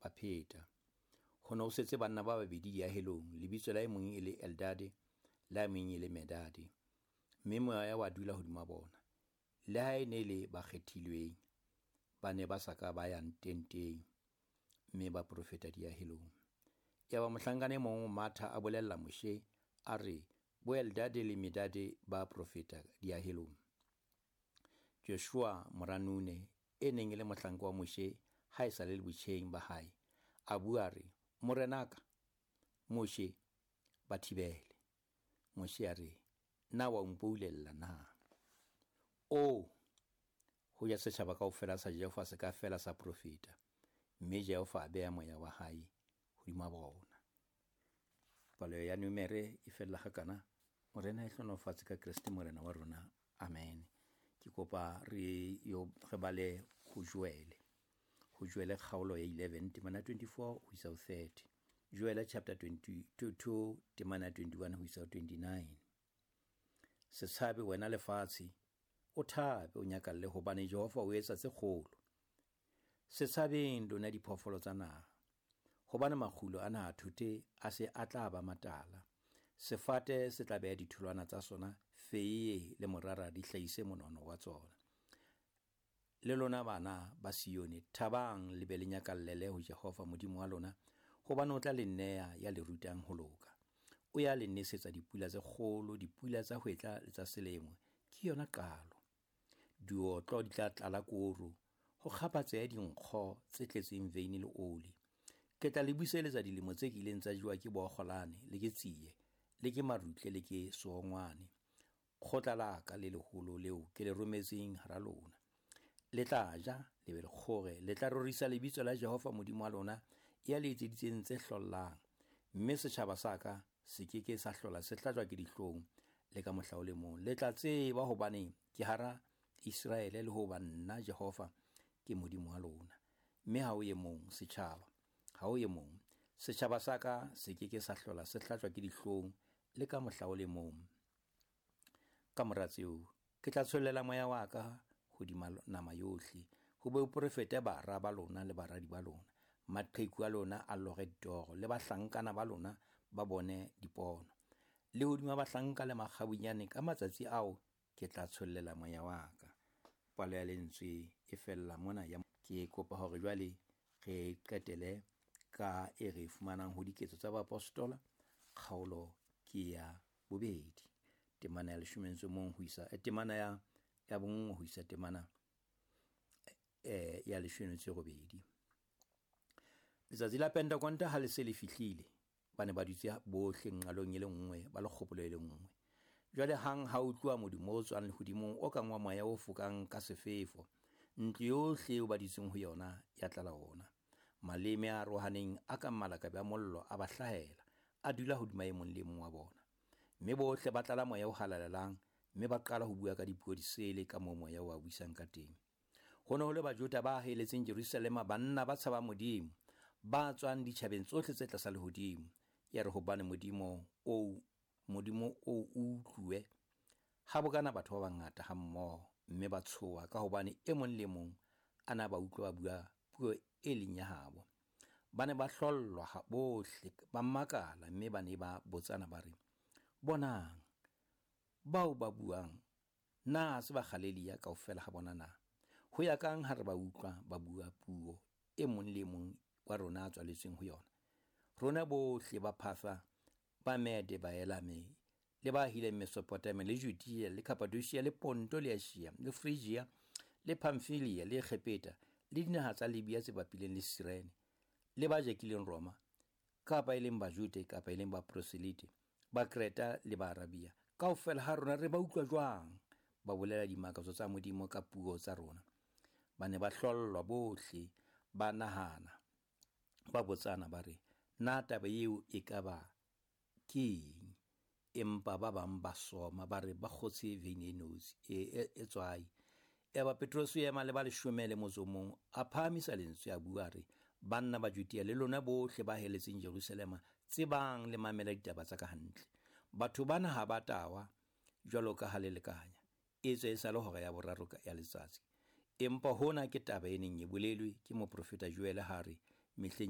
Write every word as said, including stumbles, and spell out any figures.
ba pheta. Ho ne ho setse banna ba babedi diahelong, lebitso la e mong e le Eldade, la e mong e le Medade. Mme moya wa dula hodima bona. Le ha e ne le ba kgethilweng, ba ne ba sa ka ba ya tenteng, mme ba profeta diahelong. Yaba mohlankana e mong o matha a bolella Moshe, a re, bo Eldade le Medade ba profeta diahelong. Joshua mora Nune, e neng e le mohlanka wa Moshe ha e sa le botjheng ba hae, a bua a re, Morenaka, Moshe, ba thibele. Moshe a re, na wa mpoulella na? O, ho ya setjhaba kaofela sa Jehova se ka fela sa profeta, mme Jehova a beha moya wa hae hodima bona. Palo ya Numere e fella hakana. Morena e hlonofatse ka Kreste Morena wa rona. Amen. Ke kopa re yo re bale ho Joele. Ho Joele kgaolo ya eleven temana twenty-four ho isa ho thirty. Joele chapter twenty-two temana twenty-one ho isa ho twenty-nine. Se tshabe wena lefatshe, o thabe o nyakalle hobane Jehova o etsa tse kgolo. Se tshabeng lona diphoofolo tsa naha, hobane makgulo a naha thote a se a tla ba matala. Sefate se tla beha ditholwana tsa sona, feiye le morara di hlahise monono wa tsona. Le lona bana ba Sione, thabang le be le nyakallele ho Jehova Modimo wa lona, hobane o tla le nea ya le rutang ho loka. O ya le nesetsa dipula tse kgolo, dipula tsa hwetla le tsa selemo, ke yona qalo. Diotlo di tla tlala koro, ho kgaphatseha dinkgo tse tletseng veine le oli. Ke tla le buseletsa dilemo tse kileng tsa jewa ke bookgolane le ke tsie, le ke marutle le ke seongwane. Kgotla la ka le leholo leo ke le rometseng hara lona. Le tla ja, le be le kgore, le tla rorisa lebitso la Jehova Modimo wa lona, ya le etseditseng tse hlollang. Mme setjhaba sa ka se ke ke sa hlola se hlajwa ke dihlong le ka mohla o le mong. Le tla tseba hobane ke hara Iseraele le hoba nna Jehova ke Modimo wa lona. Mme ha o e mong setjhaba, ha o e mong setjhaba sa ka se ke ke sa hlola se hlajwa ke dihlong le ka mohla o le mong. Ka mora tseo ke tla tshollela moya wa ka hodima nama yohle, ho be o profete bara ba lona le baradi ba lona, maqheku a lona a lore ditoro, le bahlankana ba lona ba bone dipono. Le hodima bahlanka le makgabunyane ka matsatsi ao ke tla tshollela moya wa ka. Palo ya lentswe e fella mona ya ke kopa hore jwale re qetele ka e re fumanang ho Diketso tsa Baapostola, kgaolo ke ya bobedi, temana ya leshome le mong ho isa temana ya ya bonngwe ho isa temana eh ya leshome le robedi. Letsatsi la Pentekonta ha le se le fihlile, ba ne ba dutse bohle nqalong e le nngwe, ba le kgopolo e le nngwe. Jwale hang ha utluwa modumo o tswang lehodimong o kang wa moya o fokang ka sefefo, ntlo yohle eo ba dutseng ho yona ya tlala ona. Maleme a arohaneng a kang malakabe a mollo a ba hlahela, a dula hodima e mong le mong wa bona. Mme bohle ba tlala moya o halalelang, mme ba qala ho bua ka dipuo disele ka moo moya o ba buisang ka teng. Ho ne ho le Bajuda ba heletseng Jerusalema, banna ba tshabang Modimo, ba tswang ditjhabeng tsohle tse tlasa lehodimo. Ya re hobane Modimo o Modimo o utlwe, ha bokana batho ba bangata hammoho, mme ba tshoha ka hobane e mong le mong a na ba utlwa ba bua puo e leng ya habo. Ba ne ba hlollwa bohle, ba makala, mme ba ne ba botsana ba re, bonang, bao ba buang na se ba Galelia kaofela ha bona na? Ho ya kang ha re ba utlwa ba bua puo e mong le mong wa rona a tswaletsweng ho yona? Rona bohle ba Phatha, ba Mede, ba Elame, le ba ahileng Mesopotamia, le Judea, le Cappadocia, le Ponto, le Asia, le Phrygia, le Pamphylia, le Egepeta, le dinaha tsa Libya tse bapileng le Sirene, le ba jakileng Roma, kapa e leng Bajude, kapa e leng Baproselite, ba Kreta le ba Arabia, kaofela ha rona re ba utlwa jwang ba bolela dimakatso tsa Modimo ka puo tsa rona? Ba ne ba hlollwa bohle, ba nahana, ba botsana ba re, na taba eo e ka ba ke eng? Empa ba bang ba soma, ba re ba kgotse veine e notshi e e tswai. Yaba Petrose o ema le ba leshome le motso o mong, a phahamisa lentswe a bua a re, banna ba Judea le lona bohle ba heletseng Jerusalema, tsebang le mamela ditaba tsa ka hantle. Batho bana ha ba tawa jwalo ka ha le lekanya, etswe e sa le hora ya boraro ya letsatsi. Empa hona ke taba e neng e bolelwe ke moprofeta Joele ha re, mehleng